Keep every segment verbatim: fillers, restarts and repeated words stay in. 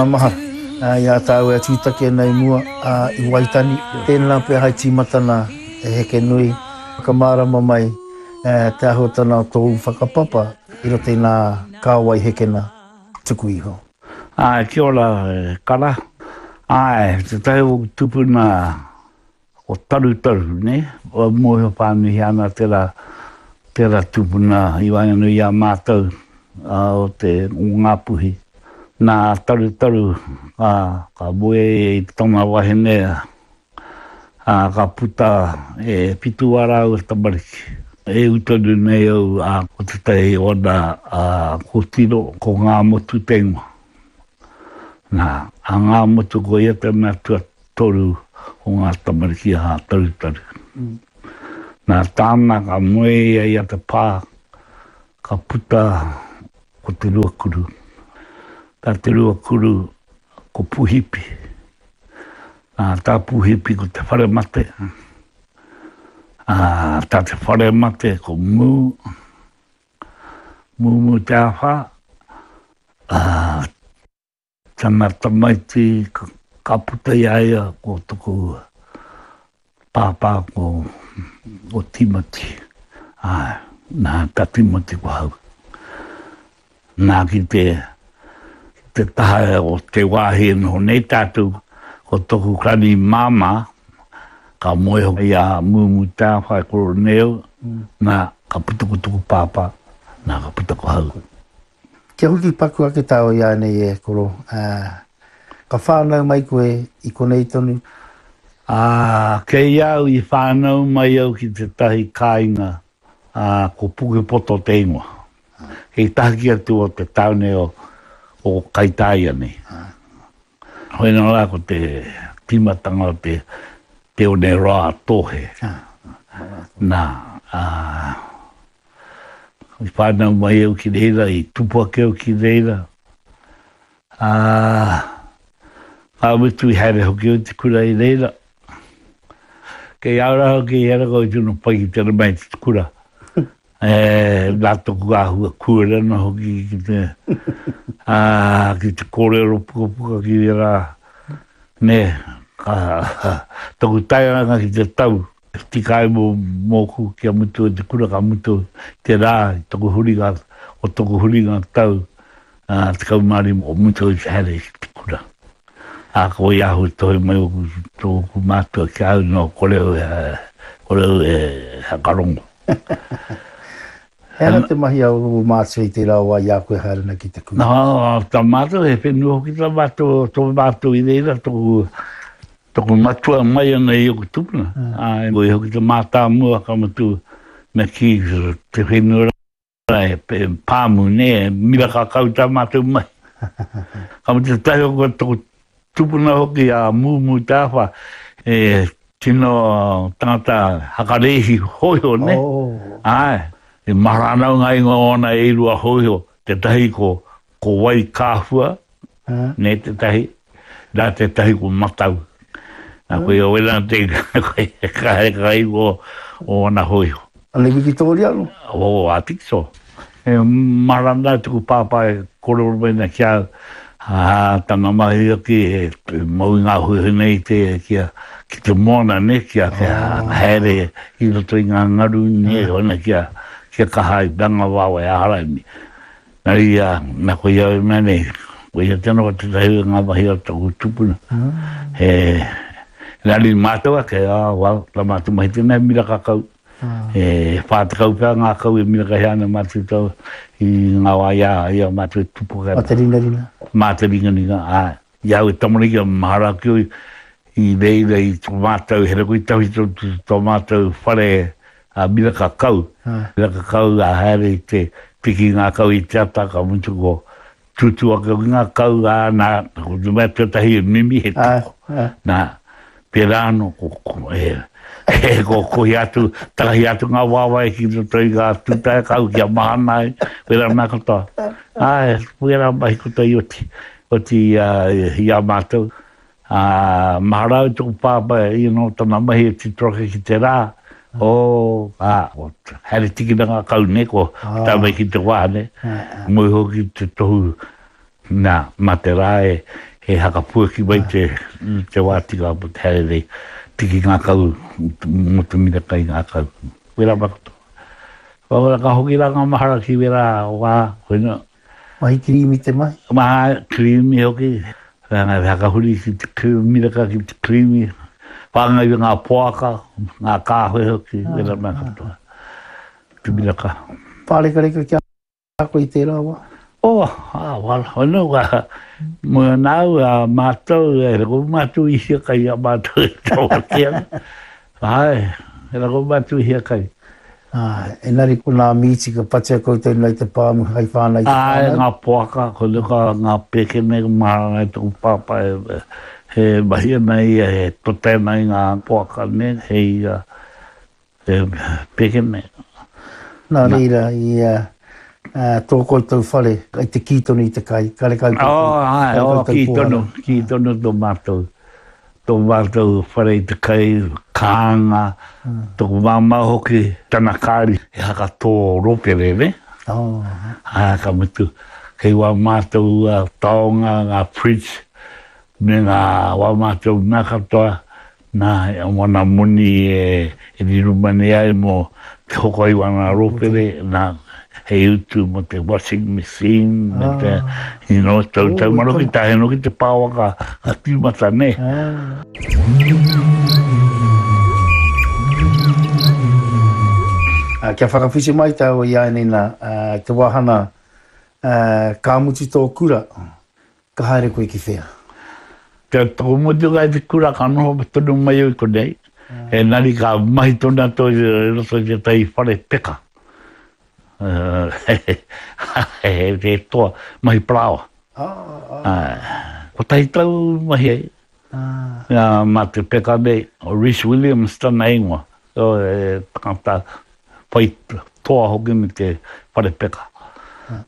Maha i a tāua e tūtaki ana i mua i Waitani. Tēnā pea hai tīmatana e heke nui, whakamārama mai te āhuatanga o tōu whakapapa i roto i ngā kāwai hekena tuku iho. Āe, kia ora e Kara. Āe, tētahi o ōku tūpuna o Tarutaru, nē, mōhio whānuihia ana tērā, tērā tūpuna i waenganui i a mātou o te, o Ngāpuhi. Nā Tarutaru ka, ka moe ia i tana wahine, ā, ka puta e whitu ā rāua tamariki. E ū tonu nei au, ā, ko tētahi o ana kōtiro, ko Ngāmotu te ingoa. Nā, a Ngāmotu ko ia te mea tuatoru o ngā tamariki a Tarutaru. Nā tāna ka moe ia i a Te Pā, ka puta ko Te Ruakuru. Tā Te Ruakuru ko Puhipi. Nā, tā Puhipi ko Te Wharemate. Ā, tā Te Wharemate ko Mū, Mūmū Te Āwhā. Ā, tana tamaiti ka puta i a ia ko toku pāpā ko, ko Timoti. Āe, nā, tā Timoti ko hau. Nā, ki te, ki te taha o te wāhi e noho nei tātou, ko toku kani māmā, ka moe hoki i a Mūmū Te Āwhai Koroneo, nā, ka puta ko toku pāpā, nā, ka puta ko hau. Kia hoki paku ake tāua i ānei e koro, ā, ka whānau mai koe i konei tonu. Ā, kei au i whānau mai au ki tētahi kāinga, ā, ko Pukepoto te ingoa. Kei tahaki atu o te tāone o, o Kaitāia nei. Hoi nō rā ko te tīmatanga o te, te one roa a Tōhe. Nā, ā, I whānau mai au ki reira, i tupu ake au ki reira, ā, ka mutu i haere hoki au i te kura i reira. Kei a au rā hoki i hera koe tino pai ki te rama i te kura. E, nā toku āhua kūare ana hoki ki te, ā, ki te kōrero pukapuka ki ērā, nē, ka, toku tairanga ki te tau. Tika ai mōku kia mutu ai te kura, ka mutu te rā i toku huringa, o toku huringa tau tekau mā rima, ko mutu ai te haere ki te kura. Ā, ko wai ahu i tohe mai oku, tōku mātua ki a au, no, kore au e, kore au e whakarongo. He aha te mahi a ō mātua i tērā wā i a koe haere ana ki te kura? Nā, tā mātou, he whenua hoki tā mātou, tō mātou i reira, tōku, Toku matua mai ana i oku tupuna, ā, ko ia hoki te mātāmua ka mutu me kī te whenua rā e pāmu, nē, e miraka kau tā mātou mahi. Ka mutu tētahi o toku tupuna hoki a Mūmū Te Āwha, e tino tangata hakarēhi hōiho, nē? Āe, e mahara ana au ngā ingoa o ana e rua hōiho, tētahi ko Ko Wai Kāhua, nē tētahi, nā tētahi ko Matau. Nā koia wera te ka haere ka ingoa o ana hōiho. Ana Wikitōria anō? Oh, I think so. E mahara ana tuku pāpā e kōrero mai ana ki a au, ā, tana mahi hoki e mau i ngā hōiho nei te, kia, ki te moana, nē, kia, kia haere i roto i ngā ngaru, nē, hona kia, kia kaha ai, ngā wawe a Haraimi. Na ia, na ko ia i mea nei, ko ia tena ko tetahi o nga mahi o toku tupuna. He, engari matou ake, ah, well, ta matou mahi tena he miraka kau. E wha tekau pea nga kau e mirakahia ana matou tau i nga wa i a, i a matou e tupu ake ana. Ma te ringaringa. Ma te ringaringa, ae. I au e tamariki a mahara ake au i reira i to matou, he rako i tawhito to matou whare a miraka kau. Miraka kau a haere i te piki ngā kau i te ata, ka mutu ko tūtū ake hoki ngā kau, ā, nā, ko te mea tuatahi e mimi he toko. Nā, pērā anō, ko, ko, e, e, ko kohi atu, takahi atu ngā waewae ki roto i ngā tūtae kau kia mahana ai, pērā mea katoa. Āe, pērā mahi katoa i oti. Oti i a mātou, ā, mahara au toku pāpā you know, tana mahi e tito ake ki te rā, oh, ā, ko haere tikina ngā kau nei, ko tae mai ki te wā nei, moe hoki te tohu, nā, mā te rā e, he hakapuaki mai te, te wā tika mo te haere nei, tiki ngā kau, mo te miraka i ngā kau. Wera makoto. Wera ka hoki rā ngā mahara ki wera wā, koina. Mahi kirimi te mahi? Mahi kirimi hoki. Whanga hakahuri ki te miraka ki te kirimi. Whāngai i ngā poaka, ngā kāwhe hoki, wera mea katoa. Te miraka. Pārekareka kia koe i tērā wā? Oh, ah, wala, wala, ka, mo nāu, a mātou, e rako mātou i hiakai a mātou e tawatea. Ai, e rako mātou i hiakai. Ah, enari ko nā mīti ka patia koutou nei te pāmu hai whānau i te Ai, whānau. ngā poaka, ko nuka ngā pēkene maharanga i tōku pāpā e, he mahi ana ia, he tote ana i ngā poaka ne, hei uh, e, pēkene. Nā reira, i uh, uh, tō koutou whare, i te kī tonu i te kai, karekau koutou. Oh, ai, oh, karekau kī pōhara. tonu, kī tonu tō mātou. Tō mātou whare i te kai, kānga, tōku māmā hoki, tana kāri, he haka tō ropere, ne? Oh, Ā, ka mutu, kei wā mātou uh, taonga, ngā fridge, me ngā wā mātou mea katoa, nā, e wana moni e, e riro mani ai mō te hoko i wana ropere, nā, hei utu mō te washing machine, me te, you know, tau, tau maro ki tahe no ki te pāwa ka, ka tīmata, ne? ah. Uh, kia whakawhiti mai tāua i ai nei nā, uh, te wāhana uh, ka mutu tō kura, ka haere koe ki whea? Te tō mutu kai te kura ka noho tonu mai au i konei. E nari ka mahi tonu atu i roto i tētahi whare peka. He, he toa, mahi parāoa. Ah, ah, Kotahi tau mahi ai. ah. Ia, mā te peka nei, o Rhys Williams tana ingoa. So, e tangata whai toa hoki me te whare peka.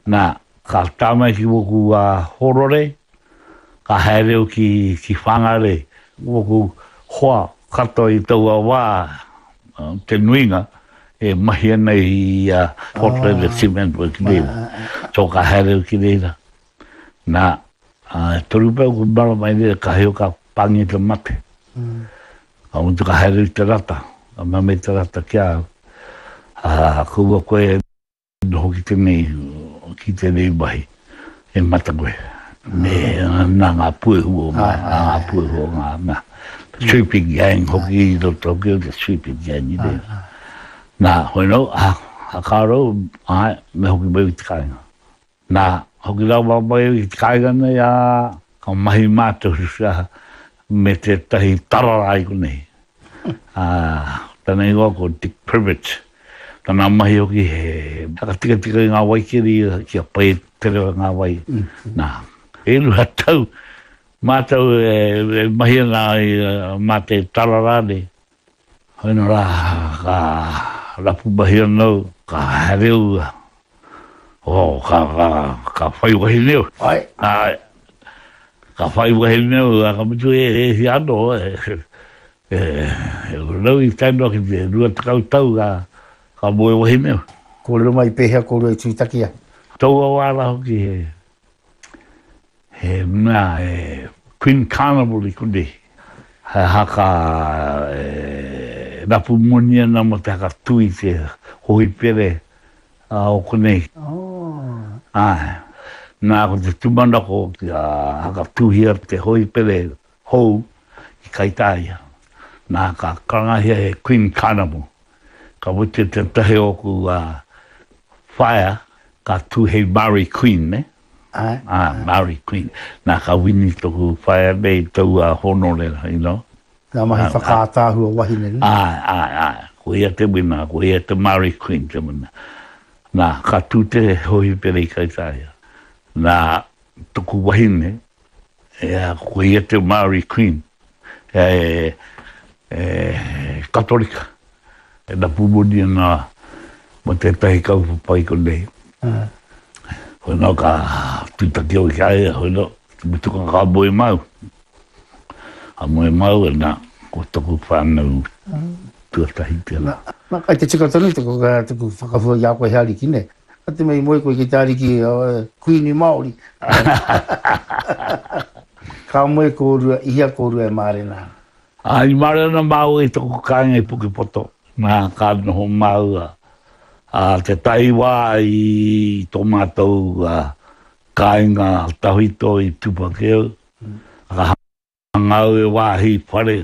Nā, ka tā mai ki woku uh, horore, ka haere au ki, ki Whangarei. Woku hoa katoa i taua wā, uh, te nuinga, e mahi ana i uh, Portland ah, Cement Work reira. So ka haere au ki reira. Nā, uh, toru pea ku marama i reira, ka heo ka pangi te mate. Mm. Ka mutu ka haere i te rata, ka mea mai te rata ki a au. Ah, kaua koe noho ki tēnei, ki tēnei mahi, e mata koe. Me nā ngā puehu o ngā, nā ngā puehu o ngā, nā. Sweeping gang hoki i roto hoki o te sweeping gang i reira. Nā, hoi nō, ah, a kāro, ai, me hoki mai i te kāinga. Nā, hoki rawa mai i te kāinga nei, ā, ka mahi mātou me tētahi tarara i konei. Ā, tana ingoa ko Dick Privet. Tana mahi hoki he whakatikatika i ngā waikeri kia pai te reo ngā wai. Nā, e rua tau mātou e, e mahi ana i uh, mā te tarara nei. Hoi nō rā, ka rapu mahi anō, ka haere au, oh, ka, ka, ka whai wahine au. Ai, Ai, ka whai wahine au, a ka mutu e, e hi anō, e, e, e, rau i tae noa ki te rua tekau tau ka, ka moe wahine au. Kōrero mai pēhea kōrua i tūtaki ai. Taua wā rā hoki he, he mea, he Queen Carnival i konei. He haka e, rapu moni ana mo te haka tui te hohipere a o konei. Oh. Ai, nā ko te tūmanako kia haka tuhia te hohipere hou i Kaitāia. Nā ka karangahia he Queen Carnival. Ka mutu te tahi oku uh, whaea, ka tū hei Māori Queen, ne? Ai. Ah, Māori Queen. Nā ka wini toku whaea nei taua honore, you know. Ngā mahi whakaātāhua wahine, ne? Ai, ai, ai. Ko ia te wina, ko ia te Māori Queen te wina. Nā, ka tū te hohipere i Kaitāia. Nā, toku wahine, ea, ko ia te Māori Queen. E, e, Katolika. E rapu moni ana mo tētahi kaupapa i konei. Ah. Hoi nō ka tūtaki au ki a ia, hoi nō, te mutunga ka moe mau. Ka moe mau, e nā, ko toku whānau tuatahi tērā. Nā, kai te tika tonu tuku, tuku whakahua i a koe he ariki, ne? Ka te mei moe koe ki te ariki uh, Queenie Māori. Ka moe kōrua, i hea kōrua e mārena ana? Ā, i mārena māua i taku kāinga i Pukepoto, nā, ka noho māua, ā, tētahi wā i tō mātou kāinga tawhito i Tupakeu, ka hanga au e wāhi whare,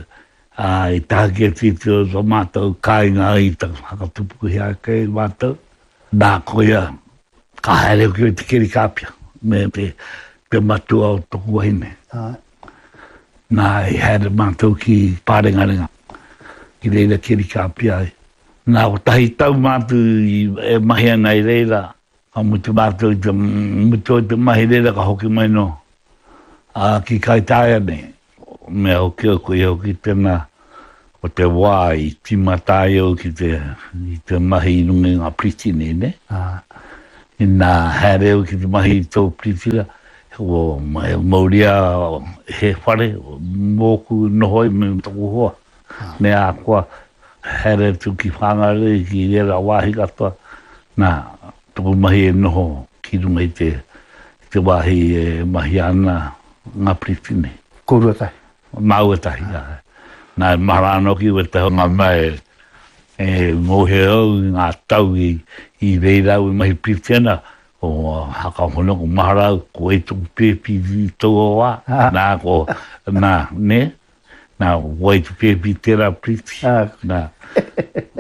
ā, i tahaki atu i tō mātou kāinga i whakatupuhia ake i mātou, nā, koia, ka haere hoki au i te keri kāpia me te, te matua o toku wahine. Āe. Nā, i haere mātou ki Pārengarenga, ki reira keri kāpia ai. Nā, kotahi tau mātou i, e mahi ana i reira, ka mutu mātou i te, mutu ai te mahi reira ka hoki mai no, ā, ki Kaitaia nei. Mea hoki au, koia hoki tēnā, ko te wā i tīmata ai au ki te, i te mahi i runga i ngā piriti nei, nē? Āe. Inā haere au ki te mahi i tō piritira, e mauria he whare mōku noho ai me taku hoa, me a koa haere atu ki Whangarei, ki ērā wāhi katoa, nā, taku mahi e noho ki runga i te, te wāhi e mahia ana ngā piriti nei. Kōrua tahi? Māua tahi, āe. Nā, e mahara ana hoki wētahi o ngā mea e, e mōhio au i ngā tau i, i reira au e mahi piriti ana, ko haka hono, ko mahara au, ko wai toku pēpi i taua wā, nā, ko, nā, nē, nā, ko wai te pēpi tērā piriti, nā.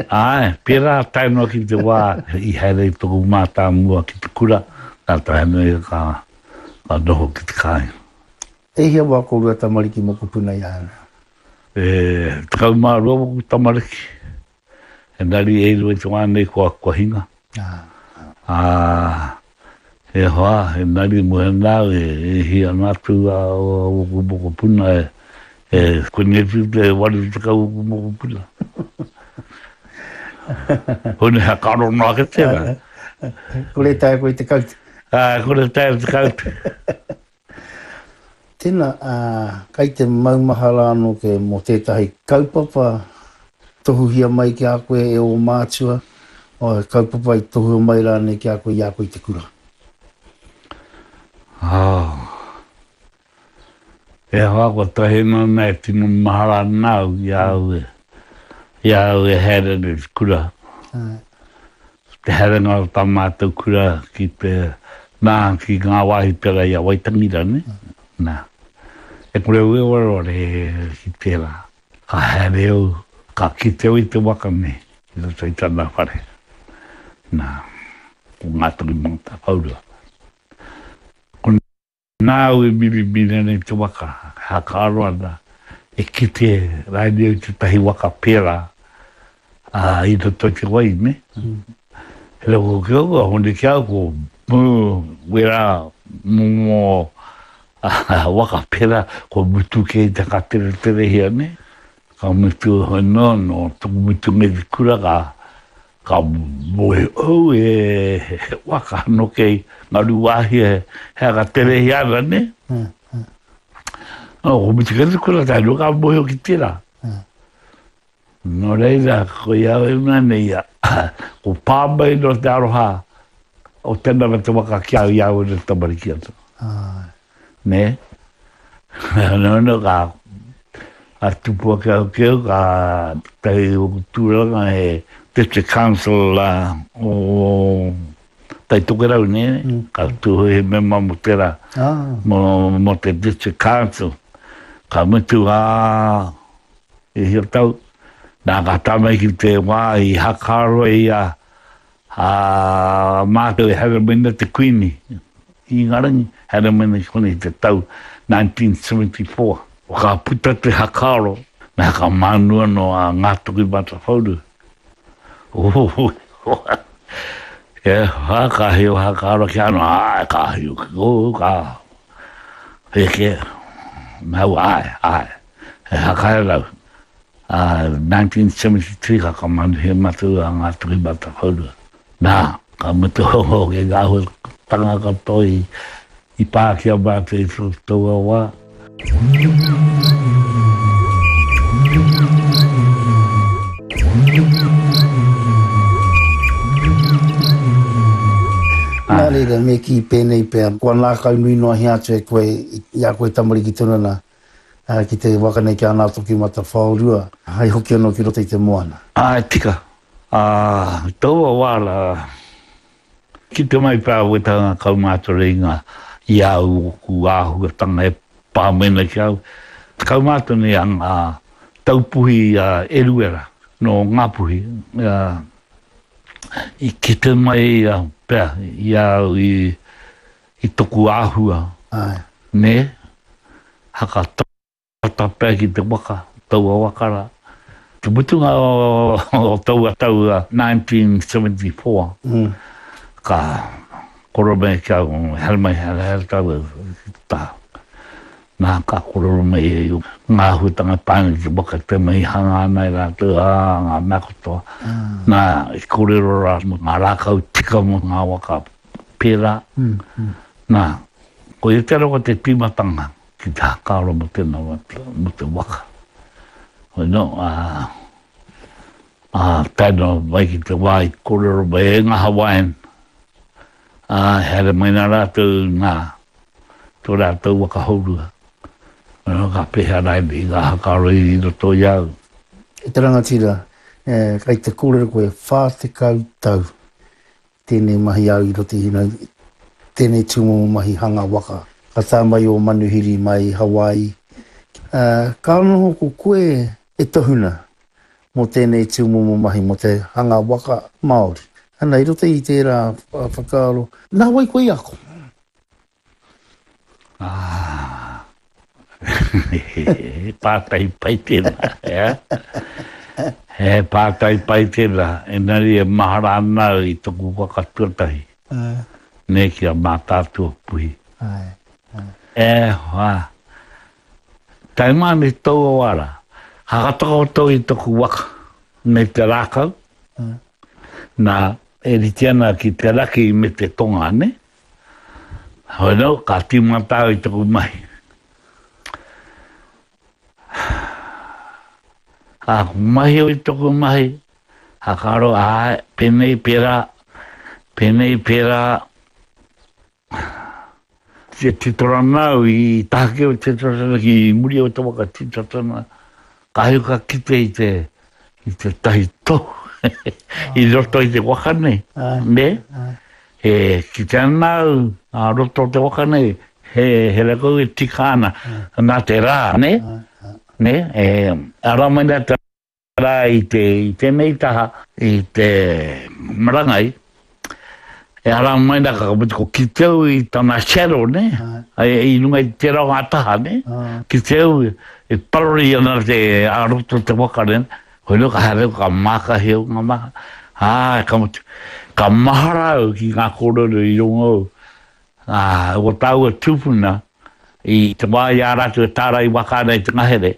Āe, pērā tae noa ki te wā i haere i toku mātāmua ki te kura, nā tae noa ia ka, ka noho ki te kāinga. E hia wā kōrua tamariki mokopuna i a ana? E tekau mā rua waku tamariki. Engari e rua i te wā nei kua, kua hinga. Ā, e hoa, engari mo hena au e, e hia ana atu a waku mokopuna e, e konei atu te waru tekau waku mokopuna. Hone hea ka rono ake tērā. Kore taea koe te kaute. Ā, kore taea te kaute. Tēnā, kai te maumahara anō koe mō tētahi kaupapa tohuhia mai ki a koe e ō mātua, o he kaupapa i tohua mai rānei ki a koe i a koe i te kura? Oh. E hoa, kua tahi noa nei e tino mahara ana au i a au e, i a au e haere ana i te kura. Te haerenga o tā mātou kura ki te, nā, ki ngā wāhi pērā i a Waitangi rānei, nā, e kore au e wareware ki tērā. Ka haere au, ka kite au i te waka nei i roto i tana whare, nā, ko Ngātokimatawhaorua. Ko Nāu e mirimiri ana i te waka, e hakaaro ana, e kite rānei au i tētahi waka pērā, ā, i roto i te wai, nē? He reo hoki au, ka hone ki a au, ko wērā momo waka pērā, kua mutu kē i te whakatereterehia, nē? Ka mutu anō, nō taku mutunga i te kura, ka Ka moe au e he waka ano kei Ngaruwahia he aka terehi ana ne. No, ko mutu kei te kura tae noa ka mohio ki tera. No reira, ko ia au e mea nei ia, ko pā mai no te aroha o tena me te waka ki au i au e tamariki atu. Nē? No, no, ka, ka tupu ake au ki au, ka tahi oku tūranga he District Council uh, o Tai Tokerau, nē? Mm. Ka tū he mema mo tērā, ah. mo, mo te District Council. Ka mutu ā, e hia tau, nā ka tae mai ki te wā i hakaroa i a, a mātou e haere mai ana te Kuini i Ingarangi, haere mai ana ki konei i te tau nineteen seventy four. Ka puta te hakaaro, me hakamānu anō a Ngātokimatawhauru. E hoa, ka hio hakaaro ki anō, āe, ka hio ki kou, ka heke, mau, āe, āe, he hakae rau. Ā, nineteen seventy three ka whakamanuhia mātou a Ngātokimatawhaorua. Nā, ka mutu hoki ngā āhuatanga katoa i, i pā ki a mātou i taua wā. Nā, Nā reira, me kī pēnei pea, kua ngākau nui noa atu e koe i a koe tamariki tonu ana ki te waka nei ki a Ngātokimatawhaorua, hai hoki anō ki roto i te moana. Āe, tika. Ā, i taua wā rā, kite mai pea wētahi ngā kaumātua i ngā, i a au ōku āhuatanga e pā mai ana ki a au. Te kaumātua nei a ngā taupuhi a Eruera nō Ngāpuhi, ā, i kite mai pea i a au i, i toku āhua, Āe. nē, haka tata pea ki te waka, taua waka rā. Te mutunga o taua tau nineteen seventy four, ka koro mai ki au, haere mai, haere, haere tāua ki te taha. Nā, ka kōrero mai e ia ngā āhuatanga e pā ana ki te waka, te mea i hanga ana e rātou, ā, ngā mea katoa. Nā, i kōrero rā mō ngā rākau tika mō ngā waka pērā. Nā, koia te rawa te tīmatanga ki te whakaaro mō tēnā, mō te waka. Hoi nō, ā, ā, tae noa mai ki te wā i kōrero mai e ngā Hawaiian, ā, haere mai nā rātou ngā, tō rātou waka hourua. Nā, ka pēhea rānei ngā whakaaro i roto i a au. E te rangatira, e, kei te kōrero koe, whā tekau tau tēnei mahi au i roto i hina, tēnei tūmomo mahi hanga waka. Ka tae mai o manuhiri mai Hawaii. E, ka noho ko koe e tohuna mō tēnei tūmomo mahi, mō te hanga waka Māori. Ana, i roto i tērā whakaaro, nā wai koe i ako? Ah, he pātai pai tēnā, eh? He pātai pai tēnā, engari e mahara ana au i toku waka tuatahi. Āe. Nē, ki a Mātaatua Puhi. Āe, āe. E hoa, tae mai ana i taua wā rā, ka whakatakoto i toku waka me te rākau, nā, e rite ana ki te raki me te tonga, nē? Hoi nō, ka tīmata au i taku mahi. Ka mahi au i taku mahi, ka karo, āe, pēnei, pērā, pēnei, pērā. Te titorana au i tahaki au te titorana ki muri o te waka titorana, ka hei ka kite i te, i te tahi tohu i roto i te waka nei, nē? E kite ana au, a roto o te waka nei, he, he rakau e tika ana, nā te rā, nē? Nē, e ara mai nā te rā i te, i tēnei taha, i te marangai, e ara mai nā ka mutu ko kite au i tana shadow, nē? I runga i tērā o ngā taha, nē? Kite au e parori ana te, a roto o te waka, nē? Hoi nō ka haere au, ka mākahi au ngā maha, ā, ka mutu, ka mahara au ki ngā kōrero i rongo au, ā, o tāua tūpuna i te wā i a rātou e tārai waka ana i te ngahere,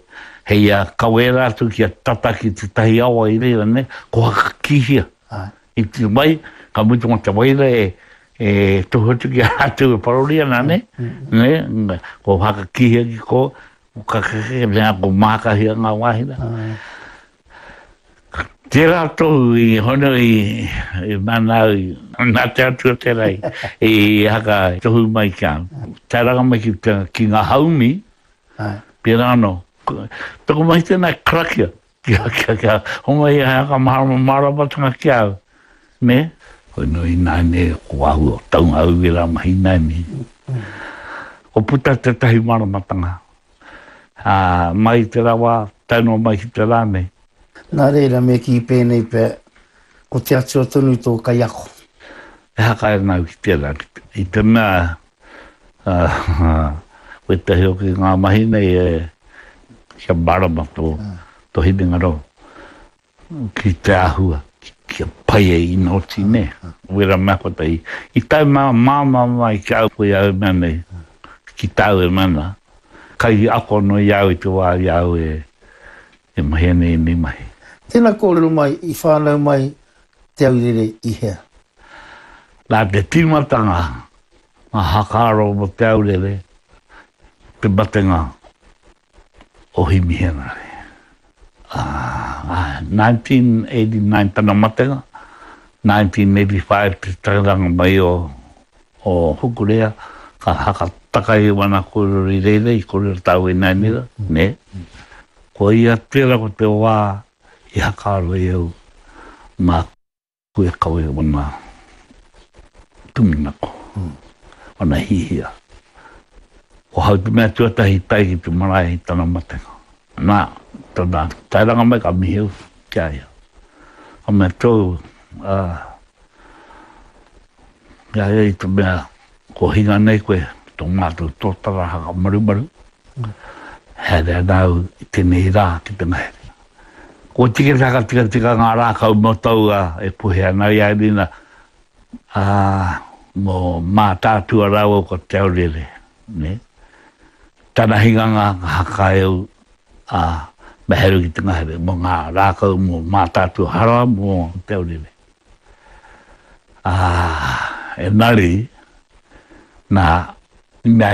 hei a kawē rātou kia tata ki tētahi awa i reira, nē, ko Hakakīhia. I te wai, ka mutu mā te waira e, e tohu atu ki a rātou e parori ana, nē, nē, ko Hakakīhia ki kō, ko Kakeke, nē, ko Mākahia ngā wāhi rā. Tērā tohu i hono i, i mana au, nā te Atua tērā i, i haka tohu mai ki a au. Tae ranga mai ki, te, ki ngā haumi, pērā anō. Toko mahi tēnā karakia, kia, kia, kia homai he haka mārama, māramatanga ki a au. Me? Hoi nō ināianei, ko āhua o taunga au i ērā mahi ināianei. Ko puta tētahi māramatanga. Ā, mai i tērā wā, tae noa mai ki te rā nei. Nā reira, me kī pēnei pea, ko te Atua tonu tō kaiako. E haka ana au ki tērā, i te mea, wētahi hoki ngā mahi nei e, kia mārama tō, tō hinengaro ki te āhua, kia pai e ina oti, nē. Wera mea kotahi, i tae mā, māmā mai ki a au koe au e mea nei, ki tāu e mea nā, kai ako anō i a au i te wā i a au e, E mahi ana ēnei mahi. Tēnā kōrero mai, i whānau mai Te Aurere i hea? Nā te tīmatanga ngā hakaaro mō Te Aurere te matenga o Himi Henare. Ā, nineteen eighty-nine tana matenga, nineteen eighty-five te tairanga mai o o Hukurea, ka hakataka i wana kōrero i reira, i kōrero tāu i nāinera, nē. Ko ia tērā ko te wā i hakaaro ai au māku e kawe wana tūmanako, wana hihia. Ko hau te mea tuatahi i tae ki te marae i tana matenga. Nā, tana taeranga mai ka mihi au ki a ia. Ka mea tōu, ā, i a ia i te mea ko hinga nei koe tō mātou tōtara haka marumaru, haere ana au i tēnei rā ki te ngahere. Kua tika te whakatikatika ngā rākau mō taua e puhe ana i a Erina, ā, mō Mātaatua rāua ko Te Aurere, nē. Tana hinganga ka haka e au, ā, me haere ki te ngahere mō ngā rākau mō Mātaatua hara mō Te Aurere. Ā, engari, nā, i mea